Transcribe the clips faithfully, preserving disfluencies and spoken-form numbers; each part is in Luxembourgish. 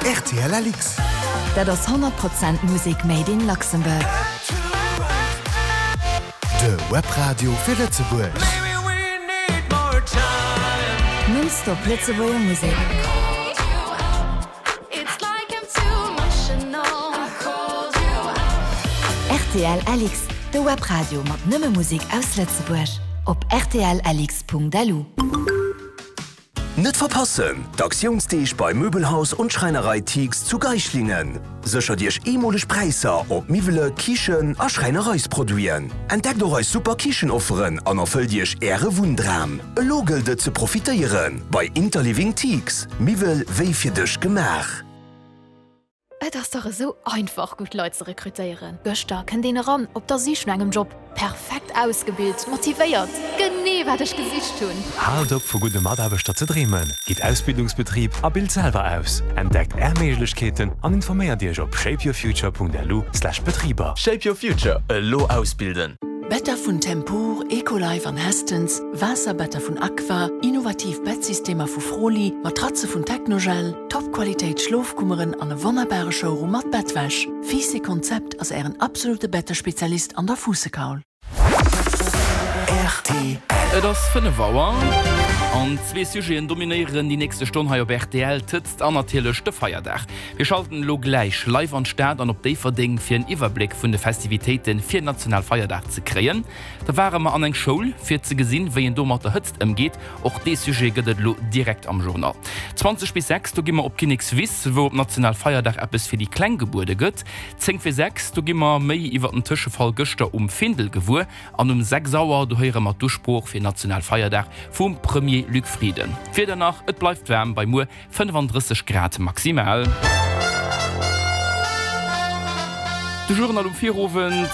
R T L L X. Dat ass honnert Prozent Musek made in Luxembourg. De Webradio fir Lëtzebuerg. Non-stop Lëtzebuerger Musek. It's like I'm too emotional. I called you R T L L X, de Webradio mat nëmme Musek aus Lëtzebuerg. Op R T L L X Punkt L U. Net verpassen! D'Aktiounsdeeg bei Möbelhaus und Schreinerei Tix zu Geislingen. Séchert Iech eemoleg Präisser op Miwwele, Kichen a Schräinereisproduiten. Entdeckt och eis super Kichenofferen an erfëllt Iech äre Wunndram. Elo gëllt et ze profitéieren bei Interliving Tix. Miwwel wéi fir dech gemaach. Et ass dach esou einfach, gutt Leit ze rekrutéieren. Gëschter kënnt een eran op der Sich no engem Job. Perfekt ausgebilt, motivéiert. Genee wat ech gesicht hunn. Haalt op vu gudde Mataarbechter ze dreemen. Gitt Ausbildungsbetrib a bilt selwer aus. Entdeckt är Méiglechkeeten an informéiert Iech op shapeyourfuture Punkt L U slash Betriber. Shape Your Future, elo ausbilden. Better vun Tempur, Ecolife an Hästens, Waasserbetter vun Aqua, innovativ Bettsystemer vu Froli, Matratze vun Technogel, Topqualitéit Schlofkummeren an e wonnerbare Showroom mat Bettwäsch. Fiisse Konzept ass ären absolute Bettespezialist an der Fuussekaul. R T L. Et ass fënnef Auer an zwee Sujeten dominéieren déi nächste Stonn hei op R T L, d'Hëtzt an natierlech de Feierdag. Mir schalten elo gläich live an d'Stad an op Déifferdeng fir en Iwwerbléck vun de Festivitéite fir Nationalfeierdag ze kréien. Da ware mer an eng Schoul fir ze gesinn, wéi een do mat der Hëtzt ëmgeet. Och dee Sujet gëtt et elo direkt am Journal. zwanzeg bis sechs, do gi mer op Kinnekswiss, wou op Nationalfeierdag eppes fir déi Kleng gebuede gëtt. Zéng vir sechs, do gi mer méi iwwer den Tëschefall gëschter um Findel gewuer. An um sechs Auer, do héiere mer d'Usprooch fir Nationalfeierdag vum Premier Luc Frieden. D'Wieder nach, et bleift waarm bei muer fënnefandrësseg Grad maximal. De Journal um Virowend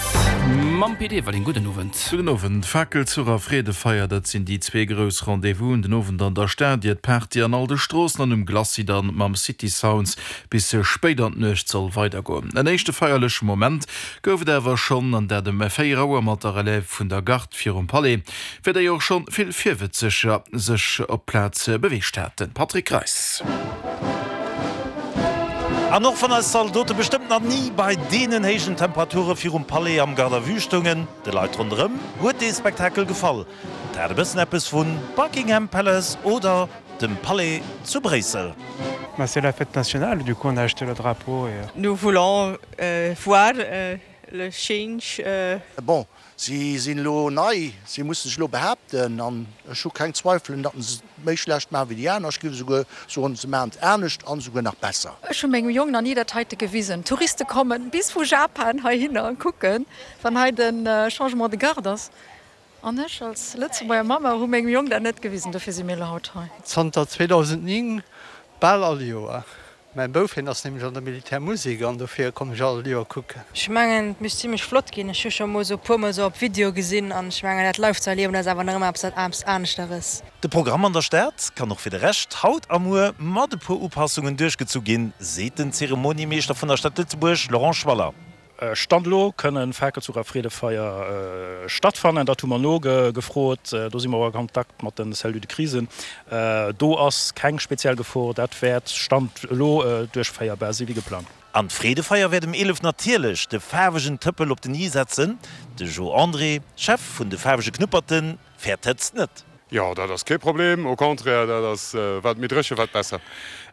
mam Pit Everling. Gudden Owend. Gudden Owend. Fakelzuch a Freedefeier, dat sinn déi zwee grouss Rendez-vousen den Owend an der Stad, ier d'Party an all de Stroossen an um Glacis dann mam City Sounds bis spéit an d'Nuecht soll weidergoen. En éischte feierleche Moment gouf et awer schonn, an dat ëm véier Auer mat der Relève vun der Garde virum Palais, fir déi och schonn vill Virwëtzeger sech op d'Plaz beweegt haten. Patrick Greis. An och wann eis Zaldote bestëmmt nach ni bei deenen héijen Temperature virum Palais am Garde à vue stoungen, de Leit ronderëm huet dee Spektakel gefall. Et hat e bëssen eppes vu Buckingham Palace oder dem Palais zu Bréissel. Bah, c'est la fête nationale, du coup on a acheté le drapeau et Nous voulons euh, voir euh, le change. Euh... Bon, si sinn elo nei, si musse sech elo behaapten an ech hu keng Zweifelen, datt se méi schlecht maache wéi déi aner. Ech géif esouguer soen, se maachen et anescht an esouguer nach besser. Ech hu mengem Jong nach ni dat heite gewisen. Touriste kommen bis vu Japan heihinner an kucken, wann hei den Changement de garde ass. An ech als Lëtzebuerger Mamma hu mengem Jong dat net gewisen, dofir si mir elo haut hei. Zanter zweedausendnéng bal all Joer. Mäi Bouf hien ass nämlech an der Militärmusek an dofir kommen ech all Joer kucken. Ech mengen et misst zimlech flott ginn. Ech hu scho mol sou e puer mol sou op Video gesinn an ech mengen dat live ze erliewen ass awer nach ëmmer eppes eppes aneschteres. De Programm an der Stad kann och fir de Rescht haut a muer mat e puer Upassungen duerchgezu ginn, seet den Zeremoniemeeschter vun der Stad Lëtzebuerg Laurent Schwaller. Stand elo kënnen Fakelzuch a Freedefeier stattfannen. Dat hu mer nogefrot. Do si mer och a Kontakt mat den Cellules de crise. Do ass keng speziell Gefor. Dat wäert Stand elo duerchféierbar si wéi geplangt. An d'Freedefeier wäert um eelef natierlech de faarwegen Tëppel op den i setzen. De Jo André, Chef vun de faarwege Knupperten, fäert d'Hëtzt net. Jo, dat ass kee Problem, au contraire, dat ass, wat méi dréche wat besser.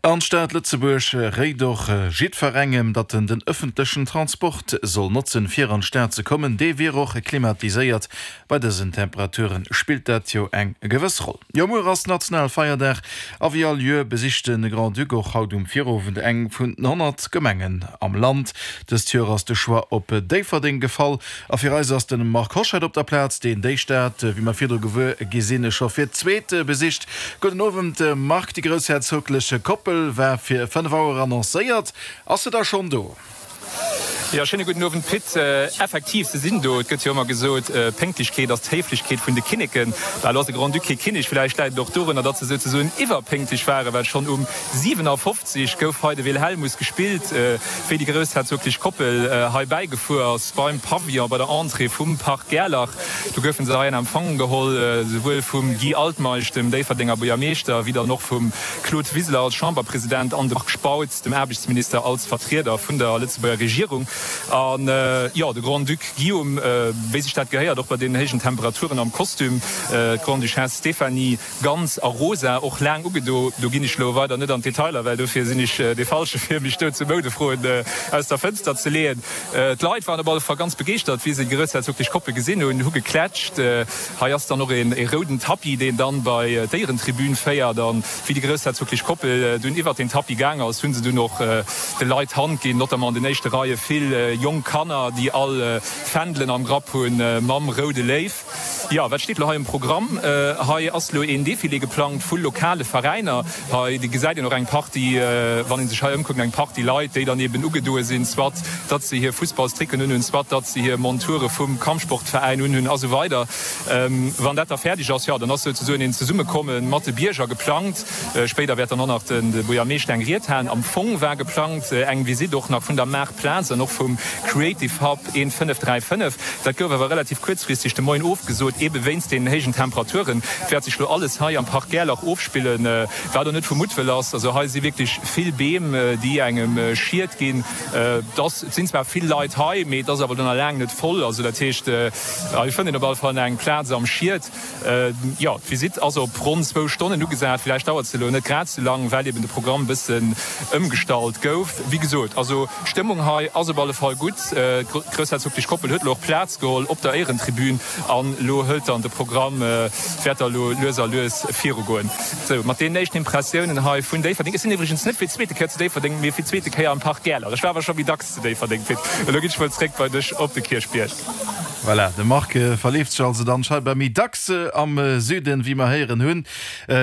An d'Stad Lëtzebuerg réit och jiddwerengem, datt en den ëffentlechen Transport soll notzen, fir an d'Stad ze kommen. Dee wier och klimatiséiert. Bei dësen Temperature spillt dat jo eng gewëss Roll. Jo, muer ass Nationalfeierdag a wéi all Joer besicht de Grand-Duc och haut um Virowend eng vun den honnert Gemengen am Land. Dëst Joer ass de Choix op Déifferdeng gefall a fir eis ass de Marc Hoscheid op der Plaz, deen déi Stad, wéi mer virdru gewuer gi sinn, scho fir d'zweet besicht. Gudden Owend Marc, déi groussherzoglech Koppel war fir fënnef Auer annoncéiert. Ass se da schonn do? Jo, schéine gudden Owend Pit. Effektiv, se sinn do. Et gëtt jo ëmmer gesot, Pénktlechkeet ass d'Héiflechkeet vun de Kinneken. Bah, elo ass de Grand-Duc kee Kinnek, villäicht läit et och dorunner, datt se souzesoen iwwerpénktlech waren, well schonn um siwenafofzeg gouf hei de Wilhelmus gespillt, wéi déi groussherzoglech Koppel hei bäigefuer ass beim Pavillon, bei der Entrée vum Parc Gerlach. Do goufe se hei an Empfang geholl, souwuel vum Guy Altmeisch, dem Déifferdenger Buergermeeschter, wéi dann och vum Claude Wiseler als Chamberpresident an dem Marc Spautz, dem Aarbechtsminister, als Vertrieder vun der Lëtzebuerger Regierung. An jo, de Grand-Duc Guillaume, wéi sech dat gehéiert, och bei deenen héijen Temperaturen am Kostüm, d'Grande-Duchesse Stéphanie ganz a rosa, och laang ugedo. Do ginn ech elo weider net an d'Detailer, well dofir sinn ech dee Falsche fir mech do zu Moudefroen aus der Fënster ze leeën. D'Leit waren op alle Fall ganz begeeschtert, wéi se déi groussherzoglech Koppel gesinn hunn, hu geklätscht. Hei ass dann och ee rouden Tapis, deen dann bei d'Éierentribün féiert. An wéi déi groussherzoglech Koppel dunn iwwert deen Tapis gaang ass, hu se dunn och de Leit d'Hand ginn, notamment an den éischte Reie vill jonk Kanner, déi all Fändelen am Grapp hunn mam roude Léiw. Jo, wat steet elo hei um Programm? Hei ass elo een Defilé geplangt vu lokale Veräiner. Hei gesäit een och eng Partie, wann ee sech hei ëmkuckt, eng Partie Leit, déi dann eben ugedoe sinn, soit datt se hir Fussballstricken unhunn, soit datt se hir Monture vum Kampfsportveräin unhunn a sou weider. Wann dat da fäerdeg ass, jo, dann ass souzesoen een Zesummekomme mat de Bierger geplangt. Spéider wäert dann och nach de Buergermeeschter eng Ried halen. Am Fong war geplangt eng Visitt och nach vun der Maartplaz an och vum Creative Hub eent fënnef dräi fënnef. Dat gouf awer relativ kuerzfristeg de Moien ofgesot, ebe wéinst deenen héijen Temperaturen. Et wäert sech lo alles hei am Park Gerlach ofspillen, wat och net vu Muttwëll ass. Also hei si wierklech vill Beem, déi engem Schied ginn. Et ass, et sinn zwar vill Leit hei, mee et ass awer lo nach laang net voll. Also dat heescht, hei fënnt een op alle Fall nach eng Plaz am Schied. Jo, d'Visitt ass op ronn zwou Stonnen ugesat. Villäicht dauert se elo net grad sou lang, well eben de Programm e bëssen ëmgestallt gouf. Wéi gesot, also d'Stëmmung hei ass op alle Fall gutt. D'groussherzoglech Koppel huet elo och Plaz geholl op der Éierentribün an elo hëlt dann de Programm, wäert da elo lues a lues virugoen. Sou, mat deenen éischten Impressiounen hei vun Déifferdeng. Ech sinn iwwregens net fir d'zweete Kéier zu Déifferdeng, mee fir d'zweete Kéier am Parc Gerlach. Ech war awer scho méi dacks zu Déifferdeng, Pit. Elo ginn ech mol zréck bei dech op de Kierchbierg. Voilà, de Marc verleeft sech also dann scheinbar méi dacks am Süden, wéi mer héieren hunn.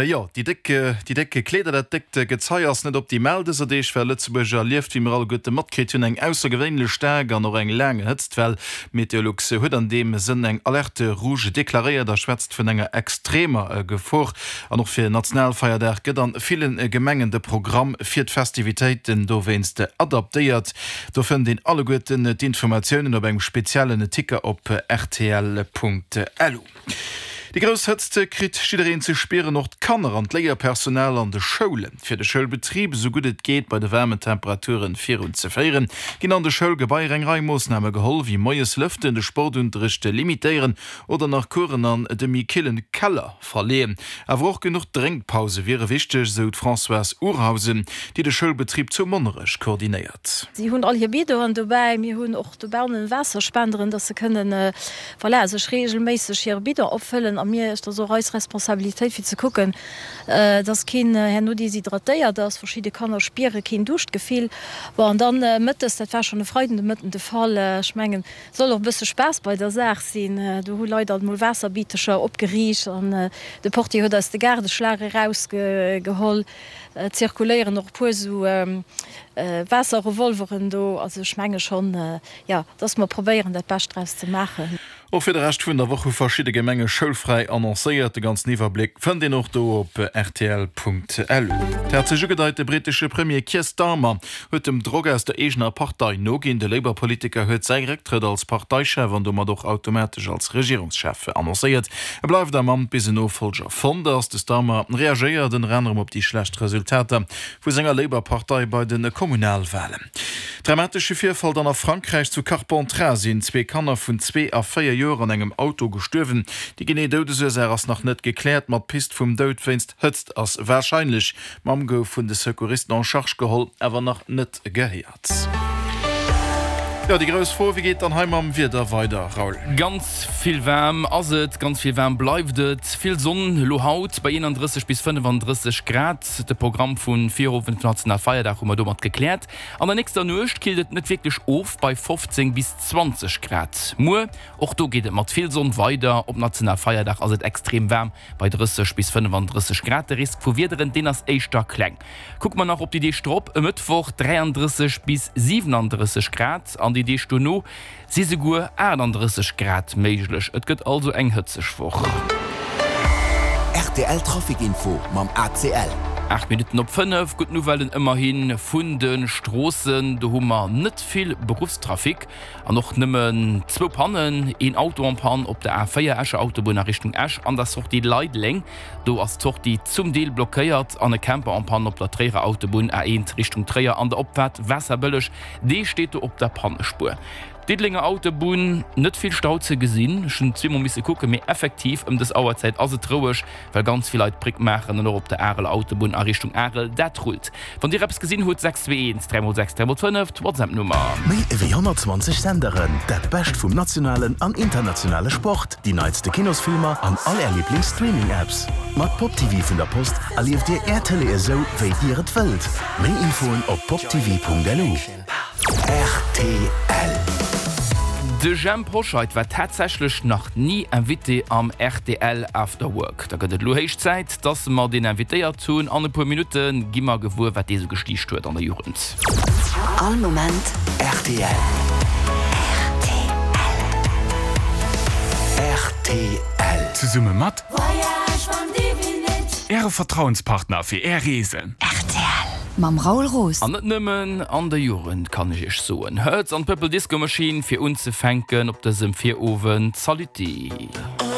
Jo, déi déck, déi déck Kleeder, dat déckt Gezei ass net optimal dëser Deeg, well Lëtzebuerg erlieft, wéi mer alleguerte matkritt hunn, eng aussergewéinlech staark an och eng laang Hëtztwell. Meteolux huet an deem Sënn eng Alerte rouge deklaréiert a schwätzt vun enger extremer Gefor. An och fir Nationalfeierdag gëtt an ville Gemengen de Programm fir d'Festivitéiten dowéinst adaptéiert. Do fënnt een alleguerten d'Informatiounen op engem speziellen Ticker op rtl.lu. Déi grouss Hëtzt kritt jiddereen ze spieren, och d'Kanner an d'Léierpersonal an de Schoulen. Fir de Schoulbetrib esou gutt et geet bei de waarmen Temperaturen virun ze féieren, ginn an de Schoulgebaier eng Rei Moossname geholl, wéi moies lëften, de Sportunterrecht limitéieren oder nach Coursen an de méi killen Keller verleeën. Awer och genuch Drénkpause wiere wichteg, esou d'Françoise Urhausen, déi de Schoulbetrib zu Monnerech koordinéiert. Si hunn all hir Bidonen dobäi. Mir hunn och dobannen Waasserspenderen, dass se kënnen, voilà, sech reegelméisseg hire Bidon opfëllen. A mir, et ass och eis Responsabilitéit fir ze kucken, dass keen herno deshydratéiert ass. Verschidde Kanner spiere keen Duuschtgefill. Bon, an dann mëttes, dat war schonn e Freiden de Mëtten de Fall, ech mengen, et soll och e bësse Spaass bei der Saach sinn, do hu Leit alt mol Waasserbitecher opgeriicht an de Portier huet eis de Gaardeschlag erausgeholl. Et zirkuléieren och e puer esou Waasserrevolveren do. Also ech menge schonn, jo, dass mer probéieren, dat Bescht draus ze maachen. Och fir de Rescht vun der Woch hu verschidde Gemenge schoulfräi annoncéiert. De ganzen Iwwerbléck fënnt een och do op rtl.lu. Et hat sech ugedeit, de brittesche Premier Keir Starmer huet dem Drock aus der eegener Partei noginn. De Labour-Politiker huet säi Récktrëtt als Parteichef an domat och automatesch als Regierungschef annoncéiert. E bleift am Amt, bis en Nofollger fonnt ass. De Starmer reagéiert ënner anerem op déi schlecht Resultater vu senger Labour-Partei bei de Kommunalwalen. Dramatesche Virfall dann a Frankräich, Zu Carpentras sinn zwee Kanner vun zwee a véier Joer an engem Auto gestuerwen. Déi genee Doudesursaach ass nach net gekläert, ma d'Pist vum Doud wéinst Hëtzt ass warscheinlech. D'Mamm gouf vun de Secouristen en charge geholl, awer nach net gehéiert. Jo, déi grouss Fro, Wéi geet dann hei mam Wieder weider, Raoul? Ganz vill waarm ass et, ganz vill waarm bleift et. Vill Sonn elo haut bei eenanddrësseg bis fënnefandrësseg Grad. De Programm vun Virowend vun Nationalfeierdag hu mer domat gekläert. An der nächster Nuecht killt et net wierklech of bei fofzéng bis zwanzeg Grad. Muer, och do geet et mat vill Sonn weider. Op Nationalfeierdag ass et extrem waarm bei drësseg bis fënnefandrësseg Grad. De Risk vu Wiederen, deen ass éischter kleng. Kucke mer nach op déi Deeg drop, e Mëttwoch dräiandrësseg bis siwenandrësseg Grad an an déi Deeg dono si souguer aachtanddrësseg Grad méiglech. Et gëtt also eng hëtzeg Woch. Rtl Trafic Info mam A C L. Aacht Minutten op fënnef, Gutt Nouvellen ëmmerhi vun de Stroossen, do hu mer net vill Beruffstrafic an och nëmmen zwou Pannen, een Auto en panne op der A véier Escher Autobunn a Richtung Esch an der Sortie Leideleng, do ass d'Sortie zum Deel blockéiert, an e Camper en panne op der Tréierer Autobunn A eent Richtung Tréier an der Opfaart Waasserbëlleg, dee steet do op der Pannespuer. Diddelenger Autobunn, net vill Stau ze gesinn, ech hunn zweemol misse kucken, mee effektiv ëm dës Auerzäit ass et roueg, well ganz vill Leit d'Bréck maachen an och op der Areler Autobunn a Richtung Arel, dat rullt. Wann Dir eppes gesinn hutt, sechs zwee eent dräi mol sechs dräi mol fënnef, d'WhatsApp-Nummer. Méi ewéi honnertzwanzeg Senderen, dat Bescht vum nationalen an internationale Sport, déi neitste Kinosfilmer an all Är Liiblings-Streaming-Apps. Mat Pop T V vun der Post erlieft Dir Är Tëlee esou, wéi Dir et wëllt. Méi Infoen op poptv Punkt L U. R T L. De Jhemp Hoscheit war tatsächlech nach ni Invité am R T L After Work. Da gëtt et elo héich Zäit, dass mer deen invitéiert hunn. An e puer Minutte gi mer gewuer, wat dee sou gestiicht huet an der Jugend. All Moment R T L. R T L. Zesumme mat Äre Vertrauenspartner fir Är Reesen. Mam Raoul Roos. An net nëmmen an der Jugend, kann ech iech soen. Hurts an Purple Disco Machine fir unzefänken op dësem Virowend. Saluti.